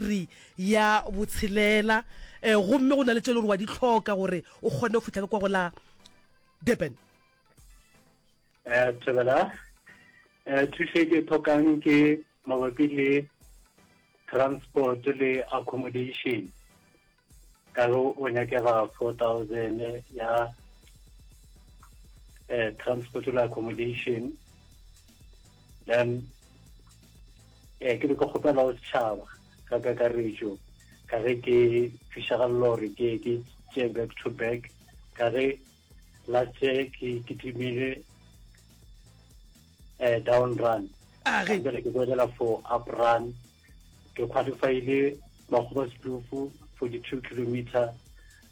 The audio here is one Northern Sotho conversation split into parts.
iri ya botshelela um gomme go na le tše le gore wa di hloka gore o kgone go fihla ka kwa go la Durban. Eh, Thobela, eh, thušo e ke e tlhokang ke mabapi le transport le accommodation ka ge o nyakega 4000 ya eh, transport le accommodation then eh, ke be ke kgopela go setšhaba ka kakaretšo ka ge ke fišagalelo gore ke ke tšee back to back ka ge last year ke ke timile eh down run a ge bjale ke boelela for up run ke qualifyile makgoba setufu 42 kilometer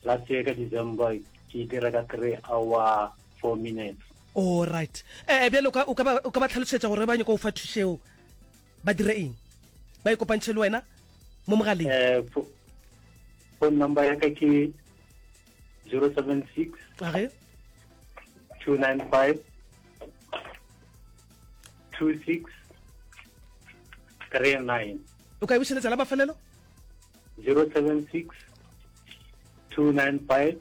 last year ka december ke dira ka 3 hour 4 minutes all right eh bjale o ka o ka ba o ka ba tlhalosetša gore ba nyaka go fa thušeo ba dire eng ba ikopantšhe le wena mo mogaleng eh phone number ya ka ke 076 age 295 26 39 o ka e bušeletša la mafelelo 076 295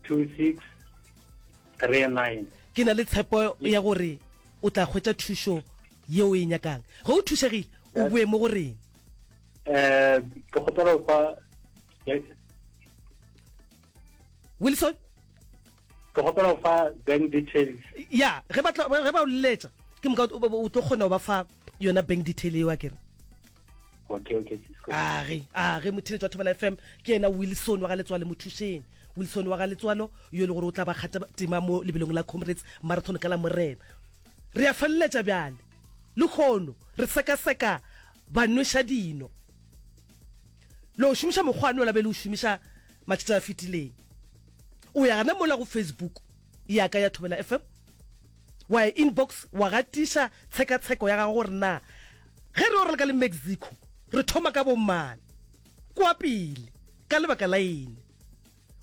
26 39 ke na le tshepo ya gore o tla hwetša thušo yeo o e nyakang. Ge o thušegile, o boe mo go rena. Eh, ke kgopela go fa Wilson? Ke kgopela go fa bank details. Ya, ge ba tla ge ba o leletša, ke moka o tlo kgona go ba fa yona bank detail eo akere. Okay, okay. A ge, a ge motheletši wa Thobela FM ke yena Wilson wa ga Letswalo Mothušeng. Wilson wa ga Letswalo yo e le gore o tla ba kgata tema mo lebelong la Comrades Marathon ka la Morena. Re a feleletša bjale. Lehono re sekaseka banwešadino. Le o šomiša mokgwa nola be le o šomiša matšatši a fetileng. O ya gana mola go Facebook ya ka ya Thobela FM, wa ya inbox wa gatiša tshekatsheko ya gago gore na ge re yo raloka le Mexico re thoma ka bomang kwa pele ka lebaka la eng.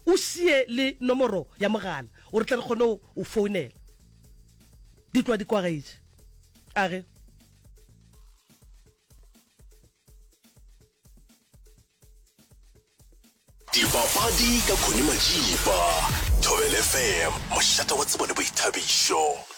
O šie le nomoro ya mogala gore tle re kgone go o founela. Di tloga di kwagetše. A ge. Dipapadi ka Connie Majiba, Thobela FM, mošate wa tsebo le boithabišo.